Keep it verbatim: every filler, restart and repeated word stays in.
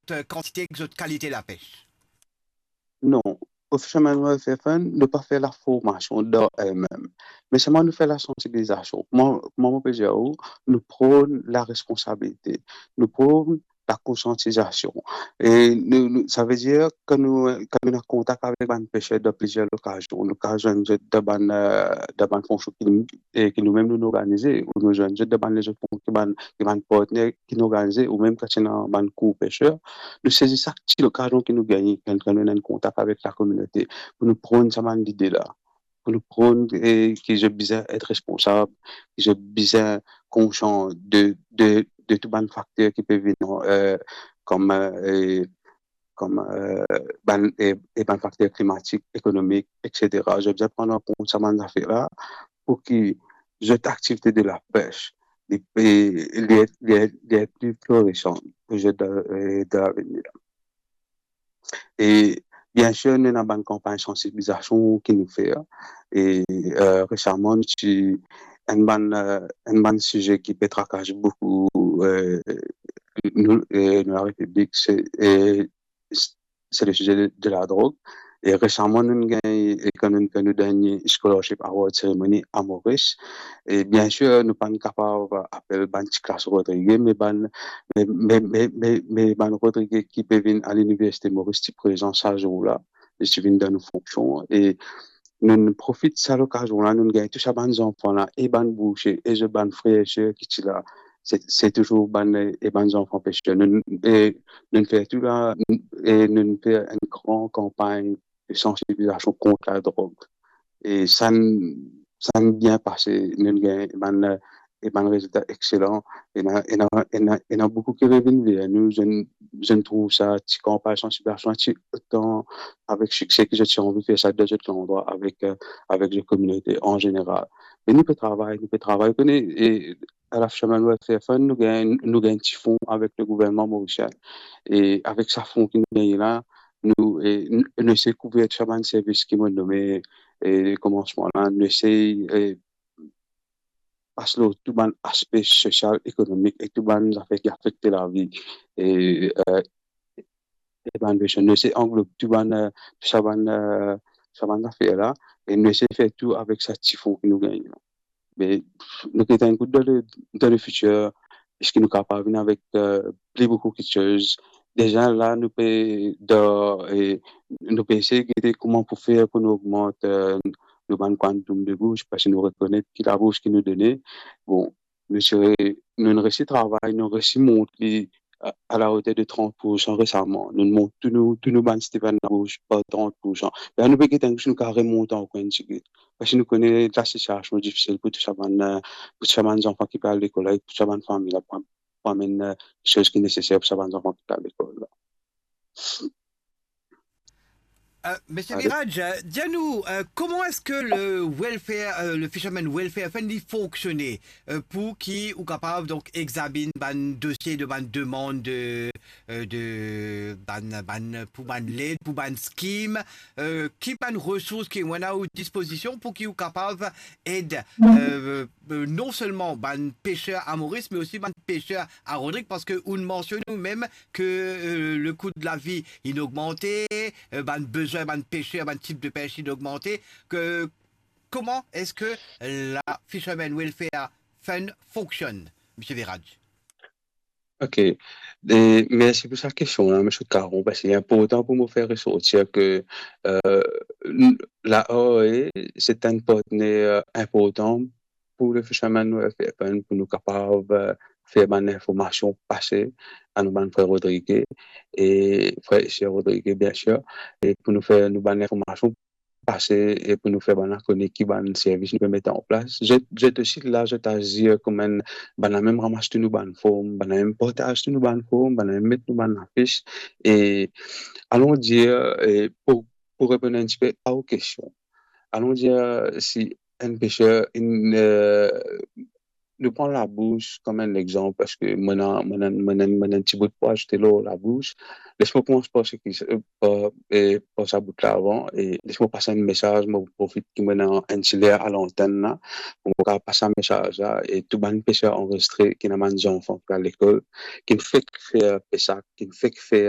zot, eh, kantite ek zot kalite lapes? Non, Fisherman Welfare Fund, nou pa fer laformasion dan elmem. Me selman nou fer lasansibilizasion. Kouma, kouma mo pe dir ou, nou pran laresponsabilite. Nou pran lakonsiantizasion. E nou, nou, savedir, kan nou, kan nou ena kontak avek bann peser dan plizier lokazion, nou kapav zwenn zot dan bann, eh, dan bann fonksyon ki nou, e ki noumem nou, nou organize, ou nou zwenn zot dan bann lezot fonksyon ki bann, ki bann partner ki nou organize, ou mem kan ti ena bann kour peser, nou sezi sak ti lokazion ki nou gagne, kan, kan nou ena enn kontak avek lakominote, pou nou pran sa bann lide la, pou nou pran, e, ki zot bizin et responsab, ki zot bizin konsian de, de, de tou bann fakter ki pe vinn, eh, kom, eh, kom, eh, bann, e, e bann fakter klimatik, ekonomik, et cetera. Zot bizin pran an kont sa bann zafer la, pou ki zot aktivite de lapes, li, e, li, li, li pli floresan pou zot dan, e, dan lavenir. E, bien sir, nou ena bann kanpagn sansibilizasion ki nou fer. E, eh, resaman, nou ti, enn bann, eh, enn bann size ki pe trakas boukou, eh, nou, eh, nou Larepiblik, se, eh, se le size de, de ladrog. E resaman, nou gagn, e kan nou, kan nou gagn Scholarship Award Ceremony a Moris. E bien sir, nou pa'nn kapav apel bann ti klas Rodrige, me bann, me, me, me, me, me bann Rodrige ki pe vinn a Liniversite Moris ti prezan sa zour la, e ti vinn dan nou fonksion. E nou, nou profit sa lokazion la, nou gagn tou sa bann zanfan la, e bann boursie, e zot bann frer e ser ki ti la, se, se touzour bann, e bann zanfan peser. Nou, e nou fer tou la, e nou fer enn gran kanpagn de sansibilizasion kont ladrog. E sa, sa bien pase, nou gagn bann, e bann rezilta exelan. Ena, ena, ena, ena boukou ki revinn ver nou, zot, zot trouv sa ti kanpagn sansibilizasion ti otan avek sikse ki zot ti anvi fer sa dan zot landrwa avek, eh, avek zot kominote an zeneral. Me nou pe travay, nou pe travay, kone, e a la Fisherman Welfare Fund, nou gagn, nou gagn ti fon avek le gouvernman morisien. E avek sa fon ki nou gagn la, nou, e, nou, nou esey kouver tou sa bann servis ki mo nome, e, komansman la, nou esey, e, pas lor tou bann aspe sosial, ekonomik e tou bann zafer ki afekte lavi, e, eh, e bann peser. Nou esey anglob tou bann, eh, tou sa bann, eh, sa bann zafer la, e nou esey fer tou avek sa ti fon ki nou gagn la. Me nou pe tann kout dan le, dan le fitir, eski nou kapav vinn avek, eh, pli boukou kiksoz. Deza la, nou pe dan, eh, nou pe esey gete kouma pou fer pou nou ogmant, eh, nou bann kwantoum de bours, parski nou rekonet ki labours ki nou done. Bon, nou ti re-, nou resi travay, nou resi mont li a, a la oter de trant poursan resaman. Nou mont tou nou, tou nou bann Steven Labous par trant poursan. La nou pe gete si nou kapav remont ankor enn tigit. Parski nou kone lasitiasion difisil pou tou sa bann, eh, pou tou sa bann zanfan ki pe al lekol la, e pou tou sa bann fami la, pou, pou amenn, eh, soz ki neseser pou sa bann zanfan ki pe al lekol la. Euh, Misie Viraj, euh, dir nou, euh, kouma eski le welfare, euh, le Fisherman Welfare Fund, li fonksione, euh, pou ki ou kapav, donk, examinn bann dosie de bann demann de, euh, de bann, bann, pou bann led, pou bann skim, euh, ki bann resours ki ou ena o dispozision pou ki ou kapav ed, euh, euh, non selman bann peser a Moris, me osi bann peser a Rodrig, parski ou mansionn ou mem ke, euh, le kou de lavi inn ogmante, euh, bann bezwin bann peser, bann tip de pes inn ogmante, ke, kouma eski la Fisherman Welfare Fund fonksionn, Misie Viraj? Ok. E mersi pou sa kestion la, Misie Caron, parski li inportan pou mo fer resortir ke, euh, n-, la R A, se enn partner inportan pou le Fisherman Welfare Fund, pou nou kapav, euh, fer bann linformasion pase a nou bann frer Rodrige e frer e ser Rodrige, bien sir, e pou nou fer nou bann linformasion pase e pou nou fer bann la kone ki bann servis nou pe met an plas. Zot, zot osi la, zot azir kouma enn, bann la mem ramas tou nou bann form, bann la mem partaz tou nou bann form, bann la mem met nou bann lafis. E alon dir, e pou, pou reponn enn tipe a ou kestion, alon dir si enn peser, enn, euh, nou pran labous kouma enn lexanp, parski mo ena, mo ena, mo ena, mo ena enn ti bout pou azoute lor labous. Les mo koumans par seki, euh, par, e, par sa bout la avan, e les mo pas enn mesaz, mo profit ki mo ena enn ti ler a lantenn la, pou mo kapav pas sa mesaz la, e tou bann peser anrezistre, ki ena bann zanfan ki al lekol, ki fek fer pesak, ki fek fer